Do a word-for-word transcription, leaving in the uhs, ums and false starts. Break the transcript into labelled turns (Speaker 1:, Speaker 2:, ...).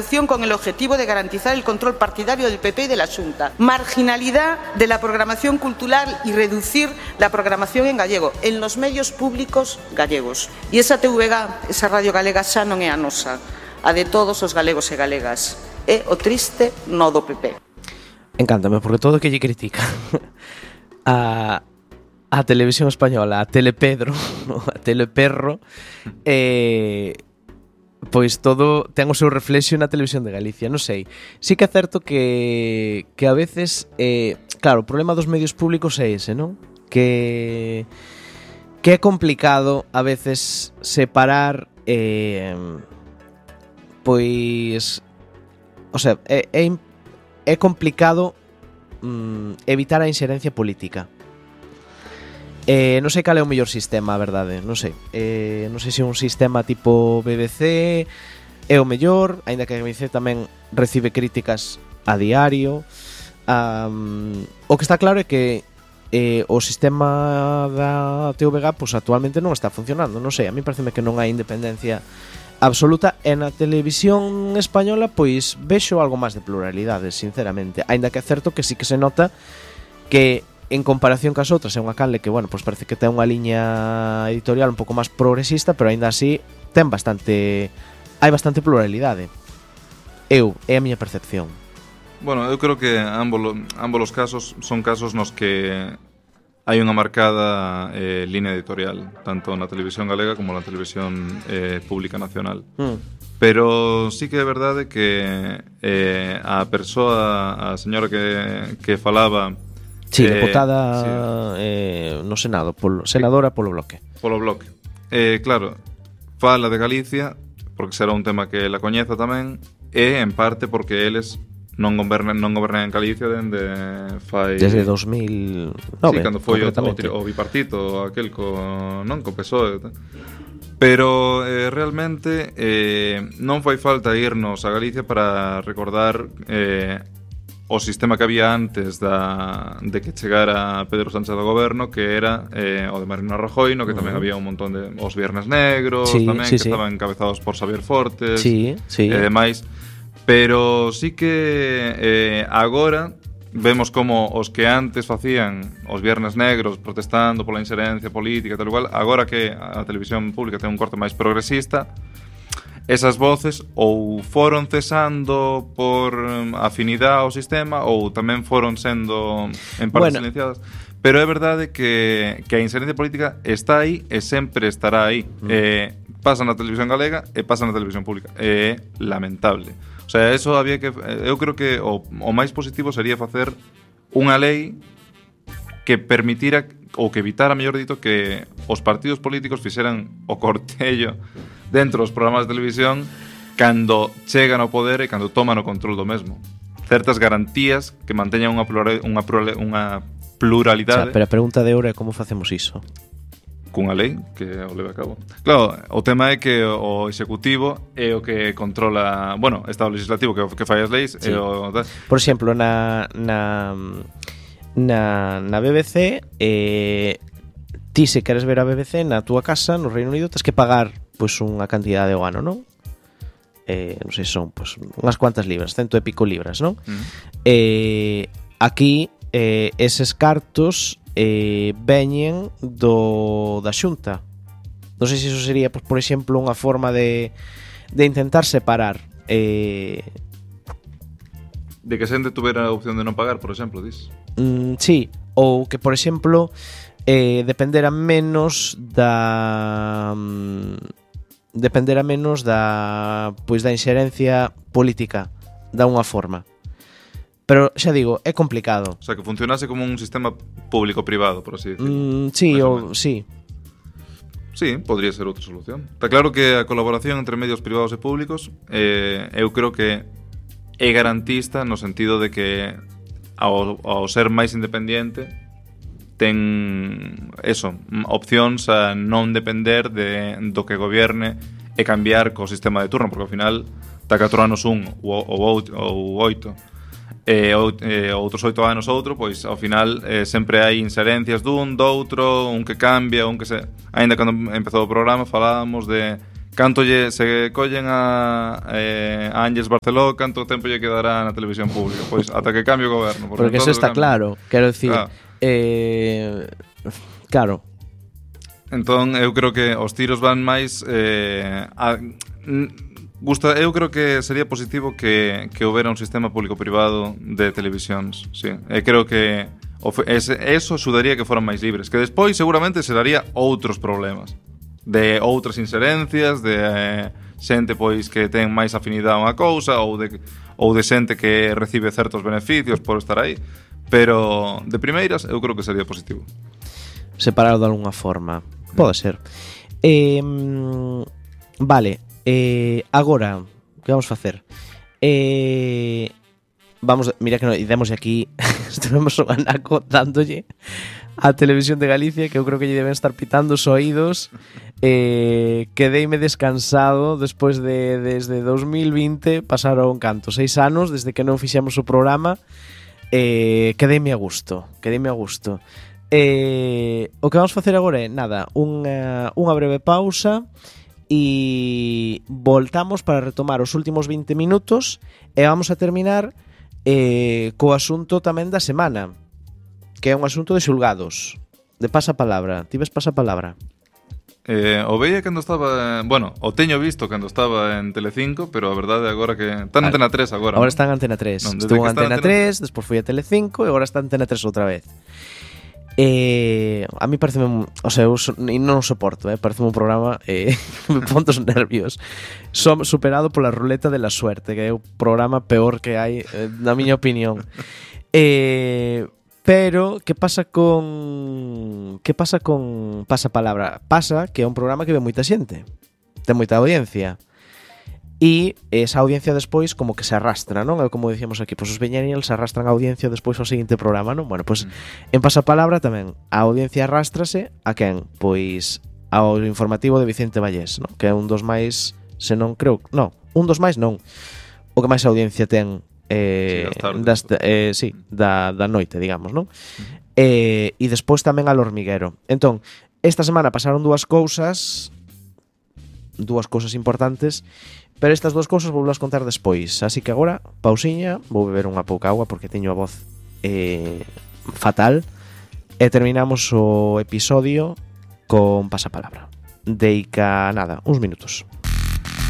Speaker 1: reducción con el objetivo de garantizar el control partidario del P P y de la Xunta. Marginalidad de la programación cultural y reducir la programación en gallego en los medios públicos gallegos. E esa T V G, esa radio galega xa non é a nosa, a de todos os galegos e galegas. É o triste no do P P.
Speaker 2: Encántame, porque todo que lle critica a, a televisión española, a Telepedro, a Teleperro, eh, pois todo ten o seu reflexo na televisión de Galicia, non sei. Sí que é certo que, que a veces, eh, claro, o problema dos medios públicos é ese, non? Que, que é complicado a veces separar, eh, pois, o sea, é, é, é complicado mm, evitar a inxerencia política. Eh, non sei cal é o mellor sistema, a verdade, non sei. Eh, non sei se un sistema tipo B B C é o mellor, aínda que a B B C tamén recibe críticas a diario. Um, o que está claro é que eh, o sistema da T V G pues, actualmente non está funcionando, non sei, a mí pareceme que non hai independencia absoluta, e na televisión española pois vexo algo máis de pluralidade, sinceramente, aínda que é certo que sí que se nota que en comparación cas outras é unha canle que, bueno, pois parece que ten unha liña editorial un pouco máis progresista, pero aínda así ten bastante, hai bastante pluralidade. Eu, é a miña percepción.
Speaker 3: Bueno, eu creo que ambos, ambos os casos son casos nos que hai unha marcada eh, línea editorial, tanto na televisión galega como na televisión eh, pública nacional. Mm. Pero sí que é verdade que eh, a persoa, a señora que, que falaba...
Speaker 2: Sí, deputada eh, sí. eh, no Senado, polo, senadora polo Bloque.
Speaker 3: Polo Bloque. Eh, claro, fala de Galicia, porque será un tema que la coñeza tamén, e en parte porque eles non gobernan, non gobernan en Galicia dende fai...
Speaker 2: Desde dos mil nove,
Speaker 3: sí, cando foi o, o, o bipartito, aquel co, non, co P S O E. Pero eh, realmente eh, non fai falta irnos a Galicia para recordar... Eh, o sistema que había antes da, de que chegara Pedro Sánchez do goberno, que era eh, o de Mariano Rajoy, no que tamén uh-huh. había un montón de os Viernes Negros, sí, tamén sí, que sí. estaban encabezados por Xavier Fortes
Speaker 2: sí, sí.
Speaker 3: e demais. Pero sí que eh, agora vemos como os que antes facían os Viernes Negros protestando pola inxerencia política e tal igual, agora que a televisión pública ten un corte máis progresista, esas voces ou foron cesando por afinidade ao sistema ou tamén foron sendo en parte bueno. silenciadas. Pero é verdade que, que a inxerencia política está aí e sempre estará aí. Mm. Eh, pasa na televisión galega e pasa na televisión pública. É lamentable. O sea, eso había que... Eu creo que o, o máis positivo sería facer unha lei que permitira ou que evitara, mellor dito, que os partidos políticos fixeran o cortello dentro dos programas de televisión cando chegan ao poder e cando toman o control do mesmo. Certas garantías que manteñan unha, plural, unha, plural, unha pluralidade.
Speaker 2: O sea, pero a pregunta de ahora é como facemos iso?
Speaker 3: Cunha lei que o leve a cabo. Claro, o tema é que o executivo é o que controla, bueno, estado legislativo que, que fai as leis sí. e o...
Speaker 2: Por exemplo, na na na, na B B C eh, ti se queres ver a B B C na túa casa no Reino Unido tens que pagar pois pues, unha cantidade ao ano, non? Eh, non sei, son pois, pues, unhas cuantas libras, cento e pico libras, non? Uh-huh. Eh, aquí eh, eses cartos eh, veñen do da Xunta. Non sei se iso sería, pues, por exemplo, unha forma de, de intentar separar eh,
Speaker 3: de que xente tuvera a opción de non pagar, por exemplo, dis?
Speaker 2: Mm, sí, ou que, por exemplo, eh, dependera menos da... Mm, dependera menos da pois da inxerencia política da unha forma. Pero xa digo, é complicado.
Speaker 3: O sea, que funcionase como un sistema público-privado, por así decirlo.
Speaker 2: Mm, sí, ou sí.
Speaker 3: Sí, podría ser outra solución. Está claro que a colaboración entre medios privados e públicos eh, eu creo que é garantista no sentido de que ao, ao ser máis independiente ten eso, opcións a non depender de, do que gobierne e cambiar co sistema de turno, porque ao final está catro anos un ou, ou, ou oito e, ou, e outros oito anos outro, pois ao final eh, sempre hai inserencias dun, doutro, un que cambia, un que se... Ainda cando empezou o programa falábamos de canto lle, se collen a, eh, a Ángeles Barceló, canto tempo lle quedará na televisión pública? Pois ata que cambie o goberno.
Speaker 2: Porque eso está
Speaker 3: cambia.
Speaker 2: claro. Quero dicir,
Speaker 3: Claro.
Speaker 2: eh, claro.
Speaker 3: Entón, eu creo que os tiros van máis eh, a, mm, gusta, eu creo que sería positivo que, que houbera un sistema público-privado de televisións, sí. E creo que ese, eso axudaría que foran máis libres, que despois seguramente se daría outros problemas de outras inserencias, de eh, xente pois que ten máis afinidade a unha cousa ou de, ou de xente que recibe certos beneficios por estar aí, pero de primeiras eu creo que sería positivo.
Speaker 2: Separado de alguna forma. Pode ser. Eh, vale. Eh, agora, que vamos facer? Eh, vamos, mira que no, demos aquí estivemos un anaco dándolle a Televisión de Galicia, que eu creo que lle deben estar pitando os oídos. Eh, quedeime descansado despois de desde dos mil vinte, pasaron canto, seis anos desde que non fixemos o programa. Eh, quedeime a gusto, quedeime a gusto. Eh, o que vamos facer agora é nada, unha, unha breve pausa e voltamos para retomar os últimos vinte minutos e vamos a terminar eh, co asunto tamén da semana, que é un asunto de xulgados, de pasapalabra. Ti ves pasapalabra?
Speaker 3: Eh, o veía cando estaba, bueno, o teño visto cando estaba en Telecinco, pero a verdade agora que está en Antena tres agora.
Speaker 2: Agora
Speaker 3: ¿no?
Speaker 2: está en Antena tres.
Speaker 3: Non,
Speaker 2: Estuvo en Antena,
Speaker 3: Antena
Speaker 2: tres, despois foi a Telecinco e agora está en Antena tres outra vez. Eh, a mí parece, o sea, eu so, non o soporto, eh, parece un programa eh, me pon dos nervios. Som superado pola ruleta de la suerte, que é o programa peor que hai, eh, na miña opinión. Eh, pero que pasa con que pasa con Pasapalabra? Pasa que é un programa que ve moita xente, ten moita audiencia. E esa audiencia despois como que se arrastra, non? É como dicíamos aquí, pois os millennials se arrastran a audiencia despois ao seguinte programa, non? Bueno, pois mm. en Pasapalabra tamén a audiencia arrástrase a quen? Pois ao informativo de Vicente Vallés, non? Que é un dos máis, se non creo, non, un dos máis non, o que máis audiencia ten eh, sí, das, eh, sí, da, da noite, digamos, non? Mm. Eh, e despois tamén al hormiguero. Entón, esta semana pasaron dúas cousas, dúas cousas importantes. Pero estas dúas cousas vou las contar despois. Así que agora, pausiña, vou beber unha pouca agua porque teño a voz eh, fatal. E terminamos o episodio con Pasapalabra. Deica nada, uns minutos.